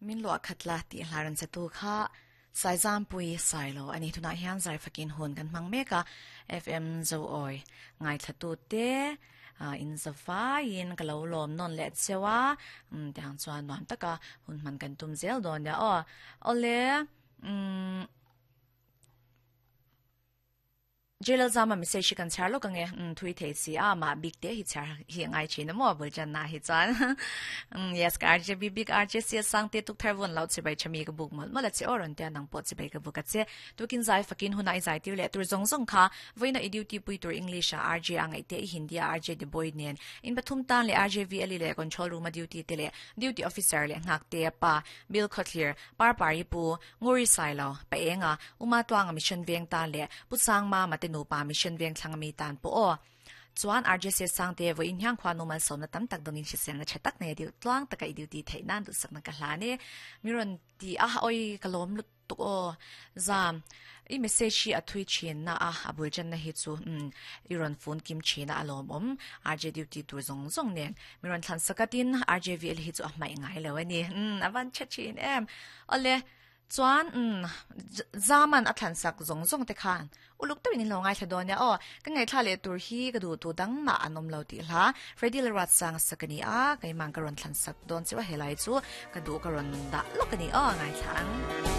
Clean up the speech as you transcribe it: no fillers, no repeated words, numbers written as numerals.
Min luah khat la tih hla rawn chatu kha Saizampui Sailo a ni. Tunah hian Zaifakin hun kan hmang mek a, FM Zoawi ngaithlatute in zavaiin ka lo lawm nawn leh cheu a, tiang chuan nuam taka hun hman kan tum zel dawn nia aw. Awle, umm. Jail zama message hi kan chhiar lawk ange umm thui thei si a mah bik te hi chhiar hi a ngai thin a maw bul chan na hi chuan umm yes ka RJ bik RJ sia sang te tuk thar vawn loh chibai tha mi ka buk mawlh mawlh a che aw rawn tia nang pawh chibai ka buk a che tukin zai fakin huna i zai tir leh tur zawng zawng kha vawiina i duty pui tur English ah RJ a ngaih te i Hindi ah RJ the boy nen in pathum tan leh RJ VLE leh control room a duty te leh duty officer leh nghak te pa Bill Khawthlir Parpari pu Nguri Sailo, Pa Enga, Uma Tuanga Mission Veng tan leh Pu Sangma Mate nupa Mission Veng thlang ami tan pawh aw. Chuan RJC Sangte vawiin hian khuanu malsawmna tam tak dawngin hriselna tha tak nei a deuh tluang taka i duty theih nan duhsakna ka hlan e. Mi rawn ti a, awi ka lawm lutuk aw. Zam, i message hi a thui thin na a, a bul channa hi chu umm i rawn fun kim thin a a lawmawm. RJ duty tur zawng zawng nen mi rawn thlan sak a tin RJVL hi chu a hmaih ngai lo a ni. Umm a van tha thin em. Awle, chuan umm Zaman a thlan sak zawng zawng te khan uluk deuhin in lo ngaithla dawn nia aw. Ka ngaihthla leh tur hi ka duh tu dang mah an awm lo tih hla Freddy Lalruatsanga sak a ni a, keimah ka rawn thlan sak dawn chiah a helai chu ka duh ka rawn dah lawk a ni aw ngaithla ang.